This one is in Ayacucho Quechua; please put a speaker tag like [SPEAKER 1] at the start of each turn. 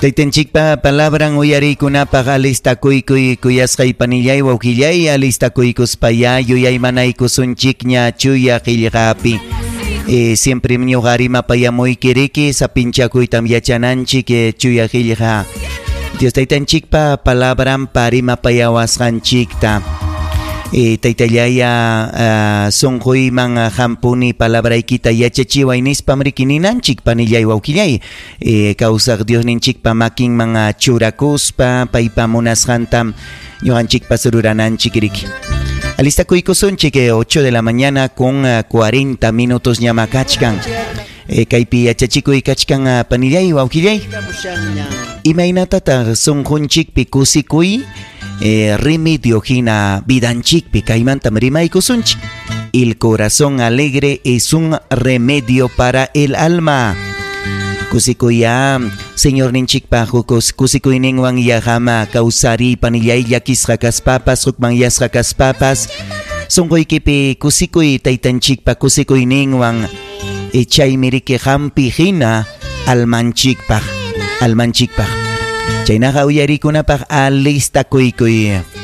[SPEAKER 1] Taytanchikpa palabran uyariykunapaq alistakuykuy kuyasqay panillay wawqillay alistakuykuspayá yuyaymanaykusunchikña chuya qillqapi. Eh, siempre ñuqa rimapayamuyki riki sapinchakuytam yachananchik eh, chuya qillqa. Dios taytanchikpa palabranpa rimapayawasqanchikta. Eh, taytallaya uh, sunquyman hampuni palabraykita yachachiway nispam riki ninanchik panillay wawqillay eh, kawsaq Diosninchikpa makinman churakuspa paypa munasqantam ñuqanchikpas rurananchik riki. Alistakuykusunchik 8 de la mañana con 40 minutos ñama kachkan. Eh, kaypi yachachikuy kachkan panillay wawqillay. Imaynatataq sunqunchikpi kusikuy eh, remedio hina vidanchikpi kaymantam rimaykusunchik. El corazón alegre es un remedio para el alma. Kusikuya Señorninchikpa kusikuyninwan yaqama kawsariy panillay llakisqa kaspapas hukmanyasqa kaspapas sunquykipi kusikuy taytanchikpa kusikuyninwan chaymi riki hampi hina almanchikpaq almanchikpaq chaynaqa uyarikunapaq alistakuykuy.